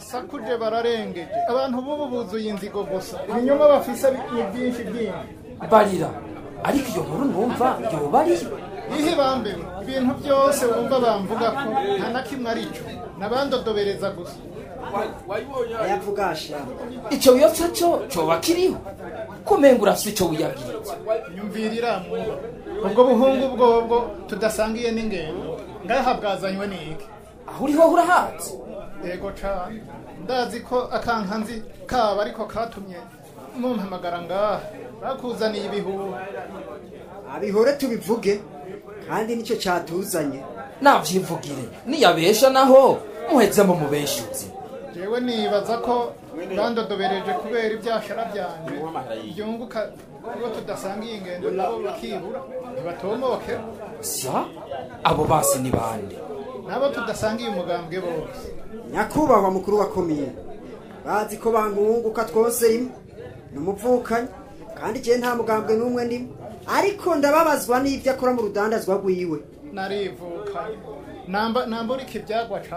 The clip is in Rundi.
Sakuje bararengeje abantu bubu buzuye inzigo gusa, ibinyoma bafise ni byinshi byinshi. Barira, ariko iyo nkuru numva yoba ariyo. Ihe bambewe, ibintu byose wumva bamvuga ko nta na kimwe arico, nabandodobereza gusa. Ayavugasha Ico wiyotsa co coba kiriho, kumenga urafise ico wiyabwiritse. Nyumvirira mwuba ubwo buhungu bwobwo tudasangiye n'ingendo ngaha bwazanywe n'iki? Aho uri ho urahazi? Yego cane, ndazi ko akankanzi kaba ariko katumye mumpamagara ngaha, bakuzaniye ibihuha. Abihore tubivuge, kandi nicyo cyatuzanye. Navyivugire, niyabesha naho muheze mu mubeshuzi. Jewe nibaza ko bandodobereje kubera ibyashara byanje byunguka ubwo tudasangiye ingendo, nabo bakibura ntibatomoke. Sya, abo basi ni bande? Nabo tudasangiye umugambwe bose. Nyakubahwa mukuru wa komine, bazi ko bankunguka twose rimwe ni umuvukanyi, kandi jewe nta mugambwe n'umwe ndimo, ariko ndababazwa n'ibyo akora mu rudandazwa rwiwe. Narivuka namba namburika ibyagwa.